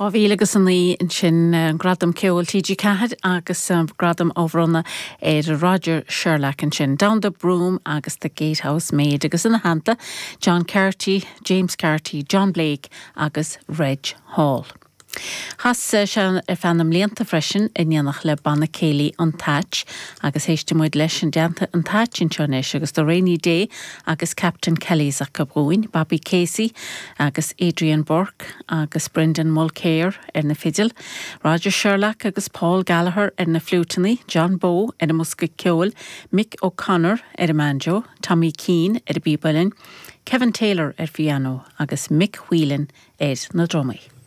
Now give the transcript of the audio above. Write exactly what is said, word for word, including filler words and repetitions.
Dhá mhíle agus a naoi ansin an Gradam Ceoil TG Ceathair agus gradam á bhronnadh ar Roger Sherlock ansin. Down the Broom agus the Gatehouse Maid agus ina theannta John Carty, James Carty, John Blake agus Reg Hall. Chas sé ar feadh na mblianta freisin in éineacht le Banna Céilí an Thatch agus éistfidh muid leis i dteannta an Thatch anseo anois agus The Rainy Day agus Captain Kelly's acu dhúinn, Bobby Casey agus Adrian Burke agus Brendan Mulcair ar na fidil, Roger Sherlock agus Paul Gallagher ar na fliúiteanna, John Bowe ar an mbosca ceoil, Mick O'Connor ar an mbanjo, Tommy Keane ar an bpíb uilleann, Kevin Taylor ar piano agus Mick Whelan ar na drumaí.